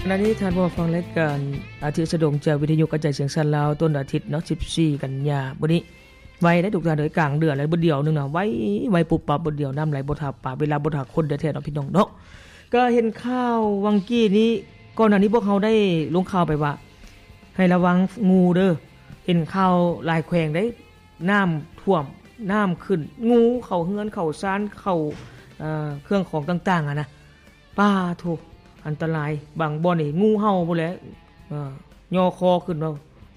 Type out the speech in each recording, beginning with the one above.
ຂະນະນີ້ທ່ານຜູ້ຟັງລາຍການອາທິດສະດົງຈາກວິທະຍຸກະຈາຍສຽງສານລາວ ຕົ້ນອາທິດເນາະ ສິບສີ່ ກັນຍາ ມື້ນີ້ ໄວເດ້ທຸກທ່ານເອີຍ ກາງເດືອນແລ້ວ ບຶດດຽວໜຶ່ງນະ ໄວ ໄວປຸບປັບ ບຶດດຽວ ນ້ຳໄຫຼບໍ່ຖ້າປາ ເວລາບໍ່ຖ້າຄົນແທ້ໆເນາະ ພີ່ນ້ອງເນາະ. ກໍເຫັນຂ່າວຫວ່າງກີ້ນີ້ ກ່ອນໜ້ານີ້ພວກເຮົາໄດ້ລົງຂ່າວໄປວ່າ ໃຫ້ລະວັງງູເດີ ເຫັນຂ່າວຫຼາຍແຂວງເດ້ ນ້ຳຖ້ວມ ນ້ຳຂຶ້ນ ງູເຂົ້າເຮືອນເຂົ້າຊານ ເຂົ້າ ເອີ ເຄື່ອງຂອງຕ່າງໆຫັ້ນນະ ປາໂທ້ ອັນຕະລາຍ ບາງບ່ອນນີ້ງູເຫົ່າພຸ້ນແຫຼະ ເອີ ຍໍຄໍຂຶ້ນມາ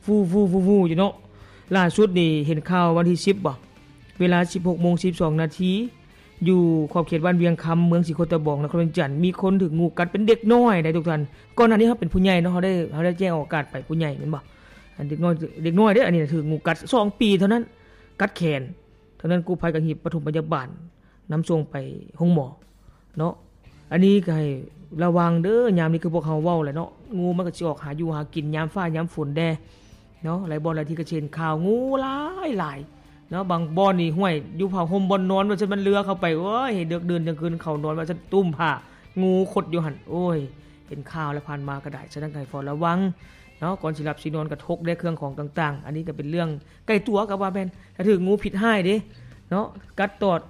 ຟູໆໆຢູ່ເນາະ. ລ່າສຸດນີ້ເຫັນຂ່າວວັນທີສິບບໍ ເວລາສິບຫົກໂມງສິບສອງນາທີ ຢູ່ຂອບເຂດບ້ານວຽງຄຳ ເມືອງສີໂຄດຕະບອງ ນະຄອນວຽງຈັນ ມີຄົນຖືກງູກັດ ເປັນເດັກນ້ອຍໃດ໋ທຸກທ່ານ. ກ່ອນໜ້ານີ້ເຮົາເປັນຜູ້ໃຫຍ່ເນາະ ເຮົາໄດ້ ເຮົາໄດ້ແຈ້ງອອກອາກາດໄປຜູ້ໃຫຍ່ແມ່ນບໍ່? ອັນເດັກນ້ອຍ ເດັກນ້ອຍເດ້ ອັນນີ້ນະ ຖືກງູກັດ ສອງປີເທົ່ານັ້ນ ກັດແຂນ ເທົ່ານັ້ນ ກູ້ໄພກໍຮີບປະຖົມພະຍາບານ ນຳສົ່ງໄປໂຮງໝໍເນາະ. ອັນນີ້ກໍໃຫ້ລະວັງເດີ ຍາມນີ້ຄືພວກເຮົາເວົ້າແຫຼະເນາະ ງູມັນກໍຊິອອກຫາຢູ່ຫາກິນຍາມຟ້າຍາມຝົນແດ່ເນາະ. ຫຼາຍບ່ອນຫຼາຍທີ່ກໍຊິເຫັນຂ່າວງູຫຼາຍໆເນາະ ບາງບ່ອນນີ້ ຫ້ວຍ ຢູ່ຜ້າຫົ່ມບ່ອນນອນວ່າຊັ້ນ ມັນເລືອເຂົ້າໄປ ໂອ້ຍ ເດິກດື່ນກາງຄືນເຂົ້ານອນວ່າຊັ້ນ ຕຸ້ມຜ້າ ງູຂົດຢູ່ຫັ້ນ ໂອ້ຍ ເຫັນຂ່າວແລ້ວ ຜ່ານມາກໍໄດ້. ສະນັ້ນກໍໃຫ້ເຝົ້າລະວັງເນາະ ກ່ອນຊິຫຼັບຊິນອນກະທົກແດ່ເຄື່ອງຂອງຕ່າງໆ. ອັນນີ້ກໍເປັນເລື່ອງໃກ້ຕົວກໍວ່າແມ່ນ ຖ້າຖືກງູພິດຮ້າຍເດ້ເນາະ ກັດຕອດ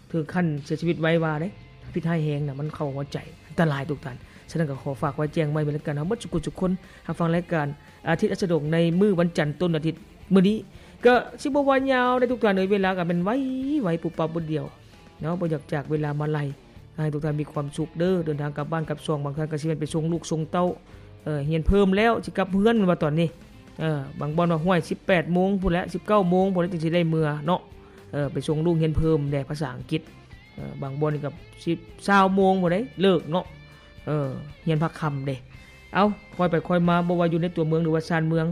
ເຖິງຂັ້ນເສຍຊີວິດໄວວ່າເດ້ ພິດຮ້າຍແຮງນະ ມັນເຂົ້າຫົວໃຈ ອັນຕະລາຍທຸກທ່ານ. ສະນັ້ນກໍຂໍຝາກໄວ້ແຈ້ງໄວ້ເໝືອນກັນ ເຮົາເບິດສຸກຄົນ ຮັບຟັງລາຍການອາທິດສະດົງໃນມື້ວັນຈັນຕົ້ນອາທິດມື້ນີ້ ກໍຊິບໍ່ວ່າຍາວໃດ໋ທຸກທ່ານເອີຍ ເວລາກໍແມ່ນໄວໆ ປຸບປັບບຶດດຽວເນາະ. ບໍ່ຢາກຈາກເວລາມາໄລ ໃຫ້ທຸກທ່ານມີຄວາມສຸກເດີ ເດີນທາງກັບບ້ານກັບຊ່ອງ ບາງທ່ານກໍຊິແມ່ນໄປສົ່ງລູກສົ່ງເຕົ້າ ເອີ ຮຽນເພີ່ມແລ້ວ ຊິກັບເຮືອນແມ່ນບໍ່ຕອນນີ້ ເອີ ບາງບ່ອນວ່າ ຫ້ວຍ ສິບແປດໂມງພຸ້ນແຫຼະ ສິບເກົ້າໂມງພຸ້ນແຫຼະ ຈຶ່ງຊິໄດ້ເມືອເນາະ ເອີ ໄປສົ່ງລູກຮຽນເພີ່ມແດ່ພາສາອັງກິດ ເອີ ບາງບ່ອນນີ້ກໍສິບ ຊາວໂມງພຸ້ນເດ້ເລີກເນາະ ເອີ ຮຽນພາກຄ່ຳເດ້. ເອົ້າ ຄ່ອຍໄປຄ່ອຍມາ ບໍ່ວ່າຢູ່ໃນຕົວເມືອງ ຫຼືວ່າຊານເມືອງ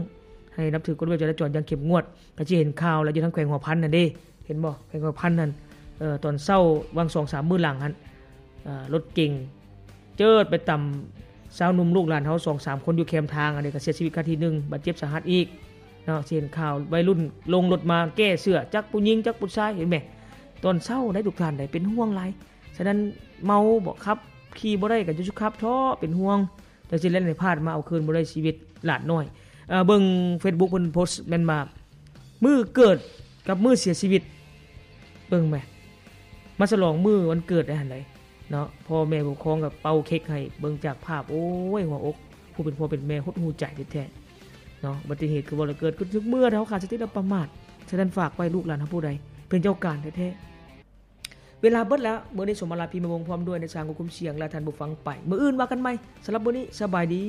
ໃຫ້ນັບຖືກົດລະບຽບຈະລາຈອນຢ່າງເຂັ້ມງວດ ກໍຊິເຫັນຂ່າວແລ້ວ ຢູ່ທາງແຂວງຫົວພັນຫັ້ນເດ້ ເຫັນບໍ່ ແຂວງຫົວພັນຫັ້ນ ເອີ ຕອນເຊົ້າຫວ່າງສອງສາມມື້ຫຼັງຫັ້ນ ເອີ ລົດເກັງ ເຈີດໄປຕຳຊາວໜຸ່ມລູກຫຼານເຮົາສອງສາມຄົນຢູ່ແຄມທາງ ອັນນີ້ກໍເສຍຊີວິດຄາທີ່ໜຶ່ງ ບາດເຈັບສາຫັດອີກເນາະ. ຊິເຫັນຂ່າວໄວລຸ້ນລົງລົດມາແກ້ເສື້ອ ຈັກຜູ້ຍິງຈັກຜູ້ຊາຍ ເຫັນແມ ຕອນເຊົ້າໄດ໋ທຸກທ່ານໄດ໋ ເປັນຫ່ວງຫຼາຍ. ສະນັ້ນເມົາບໍ ຂັບຂີ່ບໍ່ໄດ້ກໍຢ່າສູ່ຂັບເທາະ ເປັນຫ່ວງ ຈັ່ງຊີ້ແຫຼະ ໃນພາດມາເອົາຄືນບໍ່ໄດ້ຊີວິດຫຼານນ້ອຍ. ເອີ ເບິ່ງເຟສບຸກເພິ່ນໂພສແມ່ນວ່າ ມື້ເກີດກັບມື້ເສຍຊີວິດ ເບິ່ງແມ ມາສະຫຼອງມື້ວັນເກີດໄດ້ຫັ້ນໃດເນາະ ພໍ່ແມ່ຜູ້ປົກຄອງກໍເປົ່າເຄັກໃຫ້ ເບິ່ງຈາກພາບ ໂອ້ຍ ຫົວອົກ ຜູ້ເປັນພໍ່ເປັນແມ່ຫົດຫູ່ໃຈແທ້ໆເນາະ. ອຸບັດຕິເຫດຄືເວົ້າແລ້ວເກີດຂຶ້ນທຸກເມື່ອ ຖ້າເຮົາຂາດສະຕິແລ້ວປະໝາດ. ສະນັ້ນຝາກໄວ້ ລູກຫຼານເຮົາຜູ້ໃດເປັນເຈົ້າການແທ້ໆ. ເວລາເບິດແລ້ວ ມື້ນີ້ສົມມາລາພີມາວົງພ້ອມດ້ວຍນາຍຊ່າງຄວບຄຸມສຽງ ແລະ ທ່ານຜູ້ຟັງໄປ ມື້ອື່ນວ່າກັນໃໝ່. ສຳລັບມື້ນີ້ ສະບາຍດີ.